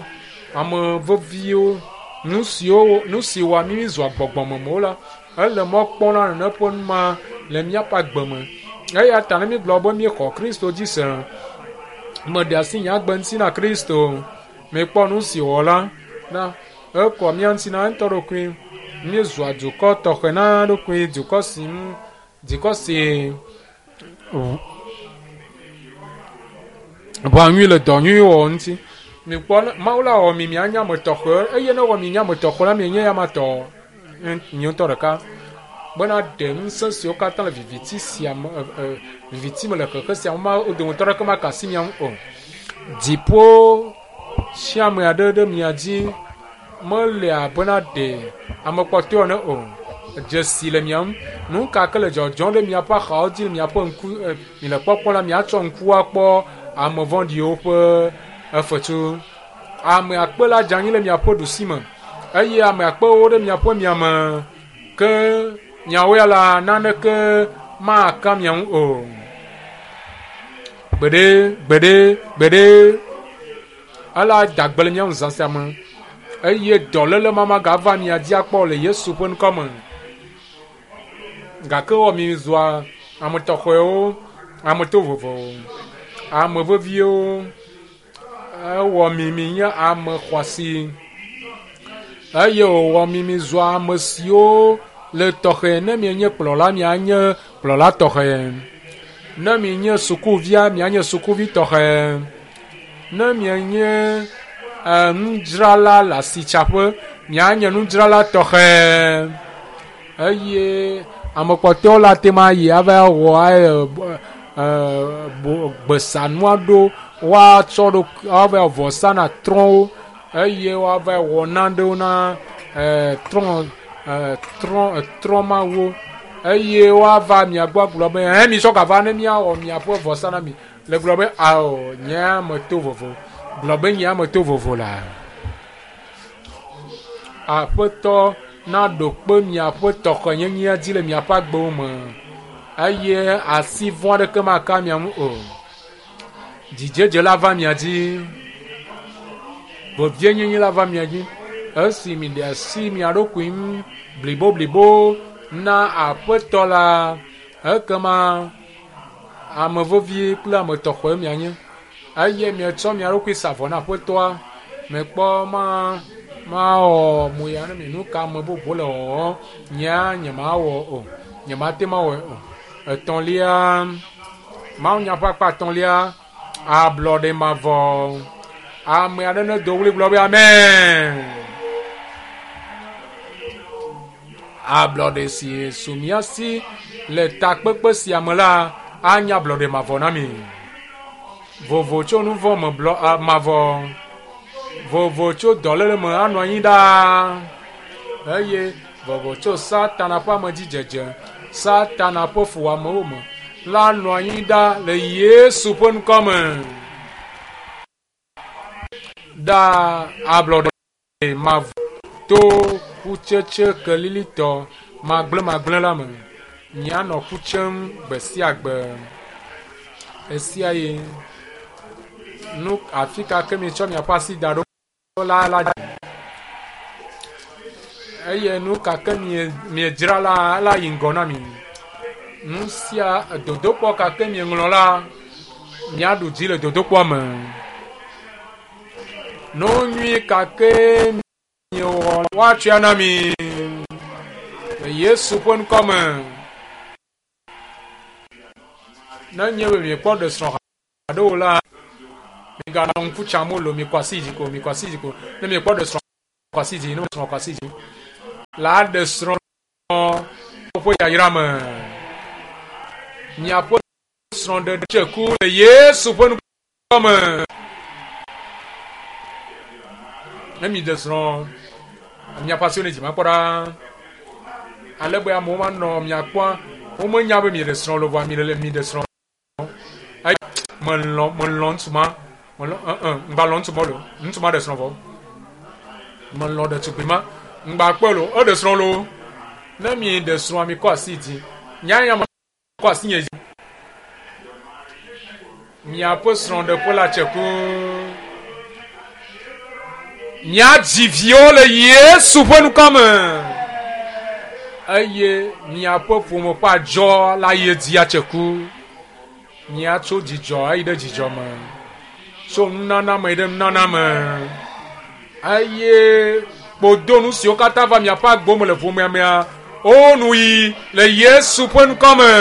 ame veviwo, nu siwo nu si wɔ mí zua gbɔgbɔmemewo la, ele mɔ kpɔm na nene ƒe nu ma le míaƒe agbe me. Eya ta ne mígblɔ be míexɔ Kristo dzi se, meɖe asi nye agbe ŋuti na Kristo. Mikpɔ nu si wòwɔ la na ekɔ mía ŋuti na ŋutɔ ɖokui. Míezua dukɔ tɔxɛ na eɖokui, dukɔ si ŋu dukɔ si ʋã nyui le dɔ nyui wɔwɔ ŋuti. Mikpɔ ne Mawu la wɔ mi mianye ame tɔxɛ eye ne ewɔ mi nye ame tɔxɛ la mienye ya ma tɔ mi ŋutɔ ɖeka bena ɖe ŋusẽ siwo katã le viviti sia me viviti me le xexe sia me ma wo dometɔ aɖeke maka asi mia ŋu o. Dziƒo sia ame aɖe ɖe mia dzi mele abena ɖe ame kpɔtɔe ene o. Dzesi le mia ŋu. Nu ka ke le dzɔdzɔm ɖe miaƒe axawo dzi le miaƒe ŋku miele kpɔkpɔm la miatsɔ ŋku akpɔ ame vɔ̃ɖiwo ƒe efetu. Ame akpe la dze anyi le miaƒe ɖusi me eye ame akpewo ɖe miaƒe miame ke miawo ya la naneke maka mia ŋu o. Gbeɖe, gbeɖe, gbeɖe. Ela da gbe le mía ŋu zã sia me eye dɔléle ma magava mia dzi akpɔ le Yesu ƒe ŋkɔ me. Gake wɔ mi zua ame tɔxɛwo, ame tovovowo, ame veviwo. Ewɔ mi mi nye ame xɔasi eye wòwɔ mi mi zua ame siwo le tɔxɛ. Ne mienye kplɔla, mianye kplɔla tɔxɛ. Ne mienye sukuvia, mianye sukuvi tɔxɛ. Ne mienye nudzrala le asitsaƒe, mianye nudzrala tɔxɛ. Eye Ame kpɔtɔewo la te ma yi ava wɔ gbesanu aɖewo woatsɔ ɖo woava vɔsa na trɔ̃wo eye woava wɔ nanewo na trɔ̃ trɔ̃ mawo eye woava mia gbɔ agblɔ be hɛ mi tsɔ gava ne miawɔ miaƒe vɔsa na mi. Le gblɔ be ao nye ame to vovo. Gblɔ be nye ame to vovo la. Aƒetɔ naɖo kpe miaƒe tɔxɛnyenyea dzi le miaƒe agbewo me eye asi vɔ̃ aɖeke maka mia ŋu o. Dzidzedze la va mia dzi. Vevienyenye la va mia dzi. Esi mi ɖe asi mia ɖokui ŋu bliboblibo na aƒetɔ la, ekema ame vevi kple ame tɔxɛ mianye eye mietsɔ mia ɖokui sa vɔ na aƒetɔa. Mekpɔ ma mawɔ mo ya ne mi nu ka ame bubu le wɔwɔ nyea nyemawɔ o nyemate mawɔe o. Etɔ̃lia mawunya ƒe akpa etɔ̃lia ablɔɖe mavɔ. Ame aɖe ne do ɣli gblɔ be amen. Ablɔɖe si su mía si le takpekpe sia me la anye ablɔɖe mavɔ na mi. Vovo tso nu vɔ̃ me blɔ mavɔ. Vovo tso dɔléle me anɔ anyi ɖaa eye vovo tso Satana ƒe amedzidzedze, Satana ƒe fuwɔamewo me la nɔ anyi ɖa le Yesu ƒe ŋkɔ me. Ɖa ablɔɖe mavɔ to kutsetse kelilitɔ magblẽmagblẽ la me. Mianɔ ku tsem gbe sia gbe. Esia ye nu afi ka ke mietsɔ miaƒe asi da ɖo la la eye nu ka ke miedzra la la yi ŋgɔ na mi. Nu sia dodokpɔ ka ke mieŋlɔ la miaɖu dzi le dodokpɔa me. Nu nyui ka ke miewɔ woatsɔe na mi le Yesu ƒe ŋkɔ me. Ne nye be miekpɔ ɖe srɔ̃ haɖe o la, miganɔ ŋku tsam o lo, mikɔ asi dzi ko, mikɔ asi dzi ko. Ne miekpɔ ɖe srɔ̃ kɔ asi dzi, ne srɔ̃ kɔ asi dzi la ɖe srɔ̃ ƒe yayra me. Miaƒe srɔ̃ɖeɖe tse ku le Yesu ƒe ŋkɔ me. Ne mi ɖe srɔ̃, miaƒe asiwo ne dzi makpɔ ɖa. Ale be amewo manɔ mia kpɔa, womenya be mi ɖe srɔ̃ lo vɔa mi le mi ɖe srɔ̃. Eye melɔ̃ melɔ̃ ŋutsu ma, melɔ̃ ŋgba lɔ̃ ŋutsu ma lo, ŋutsu ma ɖe srɔ̃ vɔ. Melɔ̃ ɖetugbui ma, ŋgba kpɔe lo, eɖe srɔ̃ lo. Ne mi ɖe srɔ̃a mi kɔ asi dzi. Nya ya me kɔ asi nye dzi. Miaƒe srɔ̃ɖeƒe la tse ku. Miadzi viwo le Yesu ƒe ŋkɔ me. Eye miaƒe ƒome ƒe adzɔ la yi edzi atse ku. Miatso dzidzɔ ayi ɖe dzidzɔ me. Tso nunana me yi ɖe nunana me. Eye kpodonu siwo katã va miaƒe agbo me le ƒomea mea, wo nu yi le Yesu ƒe ŋkɔ me.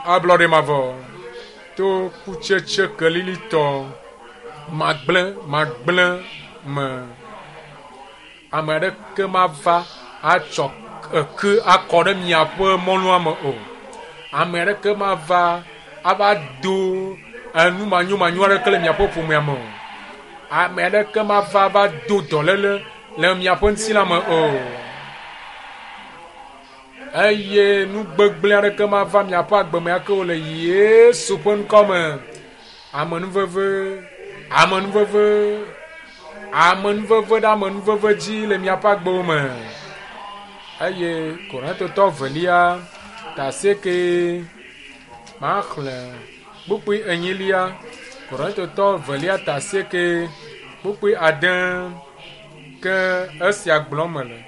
Ablɔɖe mavɔ to kutsetse kelilitɔ magblẽ magblẽ me. Ame aɖeke mava atsɔ eke akɔ ɖe miaƒe mɔnua me o. Ame aɖeke mava ava do enu manyomanyo aɖeke le miaƒe ƒomea me o. Ame aɖeke mava va do dɔléle le miaƒe ŋutilã me o. Eye nu gbegblẽ aɖeke mava miaƒe agbe me ake o le Yesu ƒe ŋkɔ me. Amenuveve, amenuveve, amenuveve ɖe amenuveve dzi le miaƒe agbewo me. Eye Korintotɔ velia ta asieke maxlẽ kpukpui enyilia. Korintotɔ velia ta asieke kpukpui ade ke esia gblɔm mele.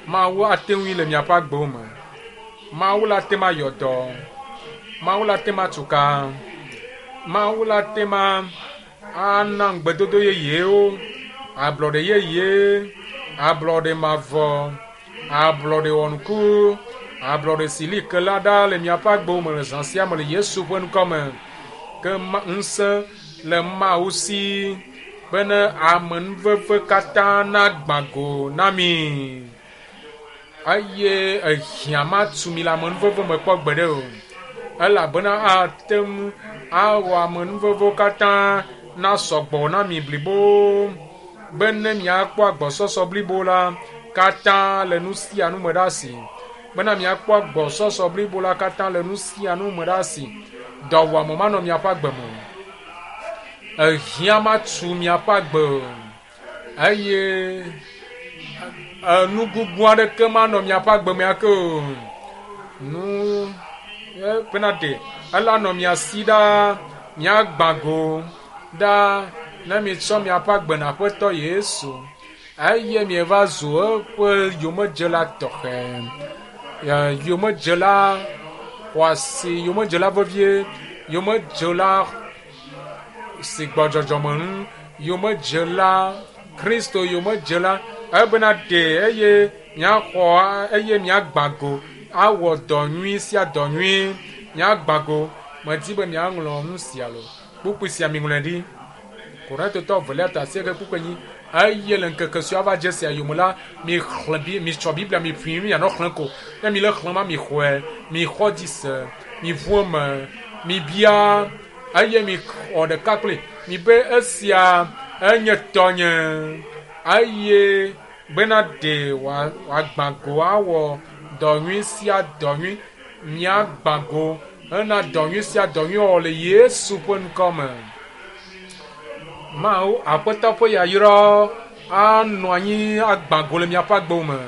Mawu ate ŋui le miaƒe agbewo me. Mawu la te ma yɔ dɔ. Mawu la te ma tu ka. Mawu la te ma ana ŋugbedodo yeyewo, ablɔɖe yeye, ablɔɖe mavɔ, ablɔɖe wɔnuku, ablɔɖe si li ke la ɖa le miaƒe agbewo me le zã sia me le Yesu ƒe ŋkɔ me. Ke ŋusẽ le Mawu si. Bene amenuveve katã nagbã go na mi. Eye ehiã matu mi le amenuveve me kpɔ gbeɖe o. Elabena ate ŋu awɔ amenuvevewo katã nasɔ gbɔ na mi blibo bene miakpɔ agbɔsɔsɔ blibo la katã le nu sia nu me ɖe asi. Bena miakpɔ agbɔsɔsɔ blibo la katã le nu sia nu me ɖe asi. Dɔwɔame manɔ miaƒe agbe me o. Ehiã matu miaƒe agbe o. Eye enu gugu aɖeke manɔ miaƒe agbe me ake o. Nu bena ɖe ela nɔ mia si ɖaa, miagbã go ɖaa ne mietsɔ miaƒe agbe na Aƒetɔ Yesu eye mieva zu eƒe yomedzela tɔxɛ, yomedzela xɔasi, yomedzela vevie, yomedzela si gbɔ dzɔdzɔme ŋu, yomedzela Kristo yomedzela ebena ɖe eye miaxɔ eye miagbã go awɔ dɔ nyui sia dɔ nyui miagbã go. Medi be miaŋlɔ nu sia lo. Kpukpui sia miŋlɔe ɖi. Korintotɔ evelia ta asieke kpukpui enyi. Eye le ŋkeke siwo ava dze sia yome la, mixlẽ bi mitsɔ Biblia miƒui mianɔ xlẽ ko. Ne mi le xlẽm ma mixɔe, mixɔ dzi se, miʋu eme, mibia eye mixɔ ɖeka kpli. Mibe esia enye tɔnye eye bena ɖe wòagbã go awɔ dɔ nyui sia dɔ nyui. Miagbã go hena dɔ nyui sia dɔ nyui wɔwɔ le Yesu ƒe ŋkɔ me. Mawu Aƒetɔ ƒe yayra anɔ anyi agbã go le miaƒe agbewo me.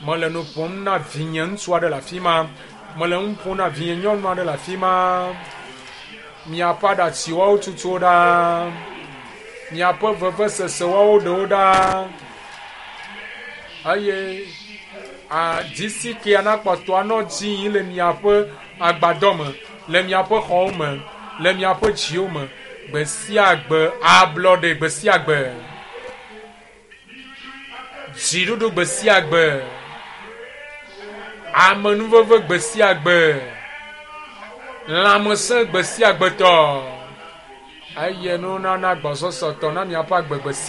Mele nu ƒom na vinye ŋutsu aɖe le afi ma. Mele nu ƒom na vinye nyɔnu aɖe le afi ma. Miaƒe aɖatsiwo tutuwo ɖa. Miaƒe vevesesewo ɖewo ɖa. Eye adzisi kea nakpɔtɔ anɔ dzi yim le miaƒe agbadɔ me, le miaƒe xɔwo me, le miaƒe dziwo me. Gbe sia gbe ablɔɖe gbe sia gbe. Dziɖuɖu gbe sia gbe. Amenuveve gbe sia gbe. Lãmesẽ gbe sia gbe tɔ. Eye nunana gbɔsɔsɔtɔ na miaƒe agbe gbe sia.